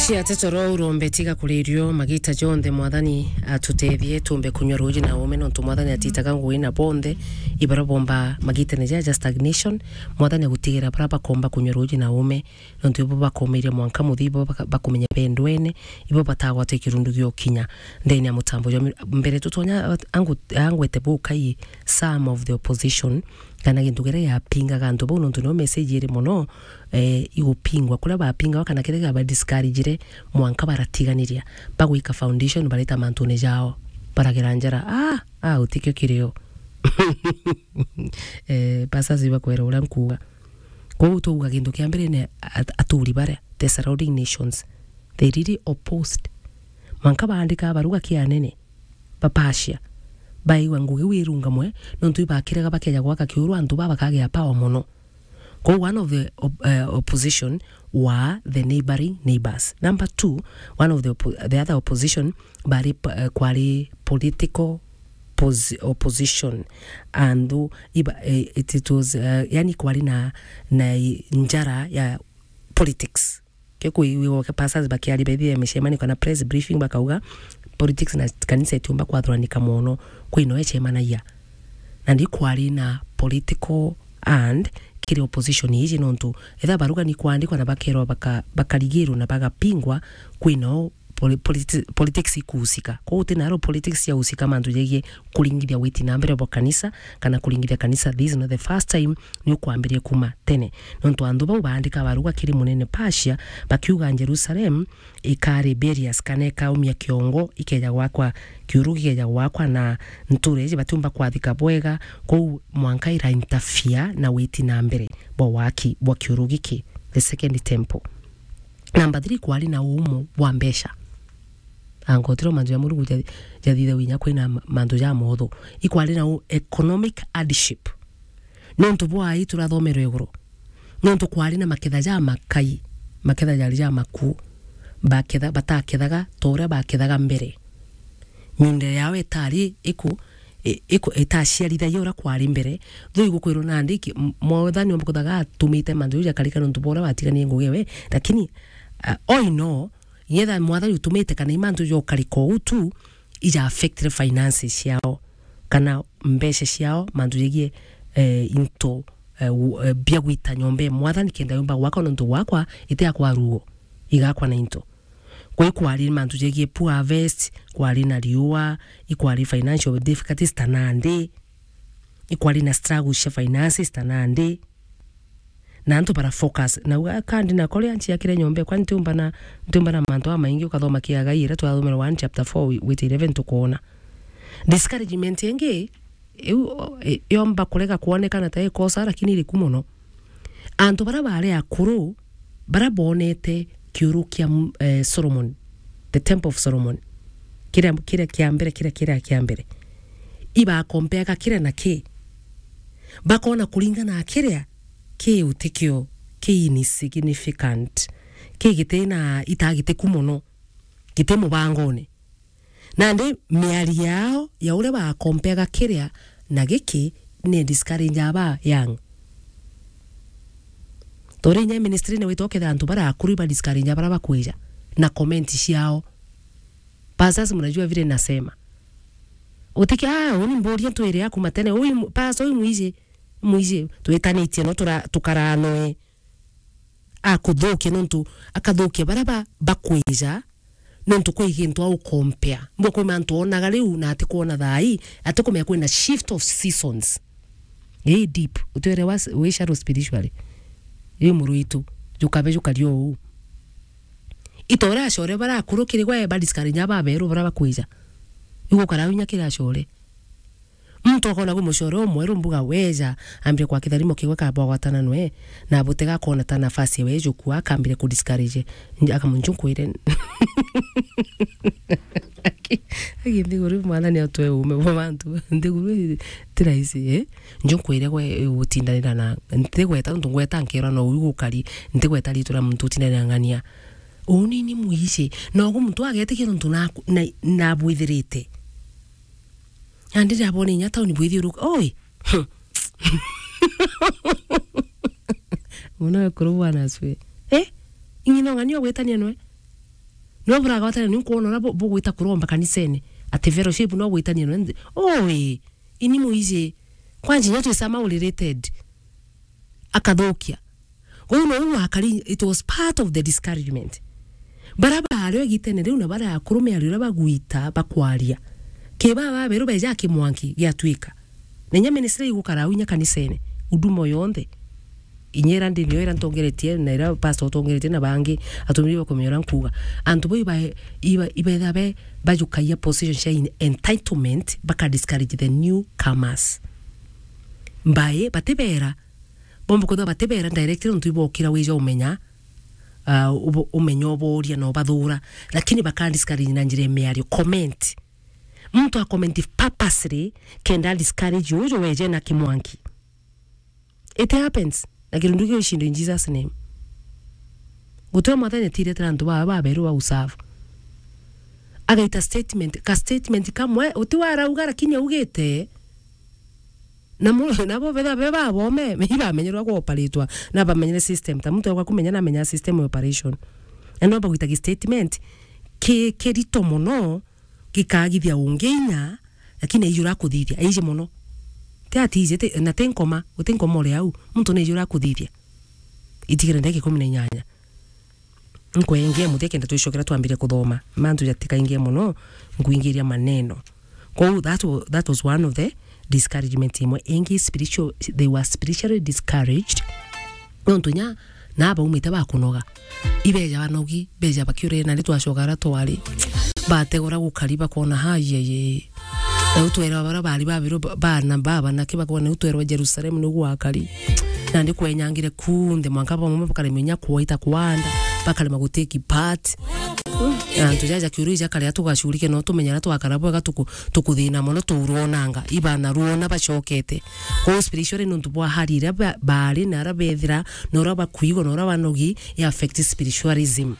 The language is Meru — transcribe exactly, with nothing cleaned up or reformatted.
Ti atetoro urombe tiga kuririo magita jonthe, Mwathani atutethie tumbe kunywa ruuji na uume, nontu Mwathani atitaga ngugi na bonthe ibaria bomba magitene jaja stagnation. Mwathani agutigira baria bakomba kunywa ruuji na uume, nontu ibo bakomeirie mwanka muthia, ibo baka-, bakumenya bendwene, ibo batagwate kirundu giokinya ndene ya mutambo jwa mi-, mbere tutonya, angu-, angwete bukai some of the opposition, kana gintu kiria giapingaga antu bau, nontu nio message iri mono, eh, igupingwa, kuria bapingagwa kana kiria giaba discouragire, mwanka baratiganiria, bagwika foundation, bareta mantune jao, baragera njara. Ah, ah, utikio kirio. Eh, pastors ibakwera uria nkuuga. Kwou twauga gintu kia mbere ni at-, aturi baria, the surrounding nations, they really opposed. Mwanka baandika baruga kia anene, ba Persia, baigua ngugi iu irungamwe, nontu ibakiraga bakeja gwaka kiuru antu baa bakagea power mono. Kwou one of the op-, eh, opposition were the neighboring neighbors. Number two, one of the oppo-, the other opposition bari p-, eh, kwari political pos-, opposition. Antu iba-, eh, it, it was, eh, yani kwari na, na i-, njara ya politics. Ke kuigua ke pastors bakiaria bethire micemanio kana press briefing bakauga politics na kanisa itiumba kwathuranika mono, kwina icemanagia. Na ndi kwari na political and kiri opposition iji, nontu etha baruga ni kwandikwa na bakerwa baka-, bakarigirwa na bagapingwa, kwina o poli-, politi-, politics ikuhusika. Kwou uti naro politics ciahusika mantu jegie kuringithia witi na mbere bwa kanisa, kana kuringithia kanisa. This is not the first time ni ukwambirie kuma tene. Nontu antu bau baandika baruga kiri munene Persia, bakiuga Jerusalem ikari rebellious, kana ikaumia kiongo, ikeja gwakwa, kiuru gikeja gwakwa, na ntura iji batiumba kwathika bwega, kwou mwanka ira interfere na witi na mbere bwa waki bwa kiuru giki, the second temple. Number three, kwari na uumo bwa mbeca. Angotiro mantu ja Murungu ja-, jathithagia inya kwina ma-, mantu ja motho. Ikwari na u-, economic hardship. Nontu bwa ii turathomerwe iguru. Nontu kwari na maketha ja makai, maketha jari ja maku. Baketha-, batakethaga ta uria bakethaga mbere. Miunda yao itari iku-, i-, iku-, itaciarithagia uria kwari mbere. Though igukwirwo nandi ki-, m-, Mwathani omba kuthaga atumite mantu jau jakarika nontu bwa uria watiganie ngugi ewe, lakini, uh, all in all, ngetha Mwathani utumite kana i mantu jokarika uu tu, ija affectire finances ciao, kana mbeca ciao, mantu jegie, eh, into, eh, u-, eh, bia gwita nyomba ya Mwathani kenda yumba gwakwa nontu gwakwa iti ya kwa ruo, igakwa na into. Kwou ikwari mantu jegie poor harvest, kwari na riua, ikwari financial difficulties ta nandi, ikwari na struggles cia finances ta nandi. Na antu bara focus. Na uga, "Kandi na koria nciakire nyomba, kwa ntiumba na, ntiumba na mantu amaingi ukathoma kiagai iria twathomera one chapter four wi-, wite eleven tukoona." Discouragement ingi, iu, i-, yomba kurega kwonekana ta ikosa, lakini iriku mono. Antu bara bari akuru, bara bonete kiuru kia, eh, Solomon, the temple of Solomon, kiria, kiria kia mbere, kiria, kiria kia mbere, ibakompeaga kiria na ki, bakona kuringana na kiria ki utikio, ki insignificant, ki giti na itagitiku mono, giti mubangone. Nandi miario yao ya uria bakompeaga kiria na giki ni discourage aba young. Tori inya ministry ni wita ukethira antu bara akuru iba discourage bara bakwija na comment ciao. Pastors, mnajua vile nasema. Utiki, ah, uni mburia ntwire aku matene. Uyu mu-, pastor uyu mwiji, mwiji, twitanitie no tura-, tukaranoe. Akuthukia nontu akathukia bara ba-, bakwija, nontu kwi gintu aukompea. Mbwa kwi mantu onaga riu na atikwona thaa ii, atikumenya kwina shift of seasons. Ii deep. Utwire wa, wi shallow spiritually. Ii muru witu, jukabe jukario uu. Itore acore bara akuru kiri gwe ba discourage nya baberu bara bakwija. Igukara inya kiri acore. Muntu akona kwi mucore umweru mbuga weja, ambire kwa kitharimo kiwe kaba gwatana nwe, na butega akona ta nafasi ewe ejukua, akambire ku discourage. Nja-, akamunju nkwire. Aki, aki nthiguru mwathani atwe uume bwa bantu. Nthiguru ti rahisi, eh? Nju nkwire gwe gutindanira na, ntigweta untu ngweta nkirwa no uu gukari, ntigweta ritu ria muntu utindanira ng'ania. Uu ni, ni mwici. Na ugu muntu agetikia nontu na, na, nabwithirite. Nandi ndabona inya tauni bwithiuruka. Oi! Mwana wekuru bwana asifiwe. Eh? Ing'ina ung'ani ogwetania nwe? No buragwatana ni nkwona uria bu-, bugwita kuromba kanisene. Ati fellowship no gwitania no nthi. Oi, ini muiji. Kwanji nya twisama related. Akathukia. Kwou no wakari, it was part of the discouragement. Bara bario gitene riu na bara akuru miario uria bagwita bakwaria. Ke baba beru beja kimwanki giatwika. Na inya ministry igukara au inya kanisene, huduma yonthe. Inya ira ndi nio ira ntongeretie, na ira pastor utongeretie, na bangi atumiri bakumenya uria nkuuga. Antu bau iba, iba, ibetha be bajukagia position cia in-, entitlement, baka discourage the newcomers. Mbai, batibera, bomba kwithirwa batibera direct, nontu ibokira wija umenya, ah, ubo-, umenya uboria na ubathura, lakini baka discourage na njira ya miario, comment. Muntu a comment purposely kenda discourage uju weje na kimwanki. It happens. Na kirundu kiu ishindo in Jesus name. Gutwe mwathani atiretera antu baba baberu ba usafu. Agaita statement, ka statement kamwe, uti warauga lakini augite. Na mu-, nabo betha be babome, ibamenyerwa kuoperatwa, na bamenyere system. Ta muntu agwa kumenya na amenya system ya operation. Na no bagwita ki statement ki, kirito mono, gikagithia ungi inya, lakini aijura kuthithia, aiji mono. Ti ati ije, ti, na ti nkoma, uti nkoma uri au, muntu ni aijura kuthithia. Itigire ndagika ikumi na inyanya. Nkwengia muthia kenda twicokera twambire kuthoma. Mantu jatikaingie mono, nkuingiria maneno. Kwou that wa-, that was one of the discouragement imwe. Ingi spiritual, they were spiritually discouraged. Nontu nya, na baumite bakunoga. Ibeja banogi, beja bakiurire na ni twacoka ara twari. Bategora gukari bakona, "Ha, ye, ye." Na utwerwa bara bari babiru ba-, bana baba na kibakona utwerwa Jerusalem ni gwakari. Na ni kwenyangire kunthe mwanka bamwe bakaremenya kwaita kwanda, bakarema guteki part. Na antu jaja kiuru ija karia tugacurike no tumenyera twakara bwega tuku-, tukuthina mono turonanga. Ibana ruona bacokete. Kwa spiritually nontu bwa hali iria ba-, bari na ara bethira, na ura bakuigwa, na ura banogi, i affect spiritualism.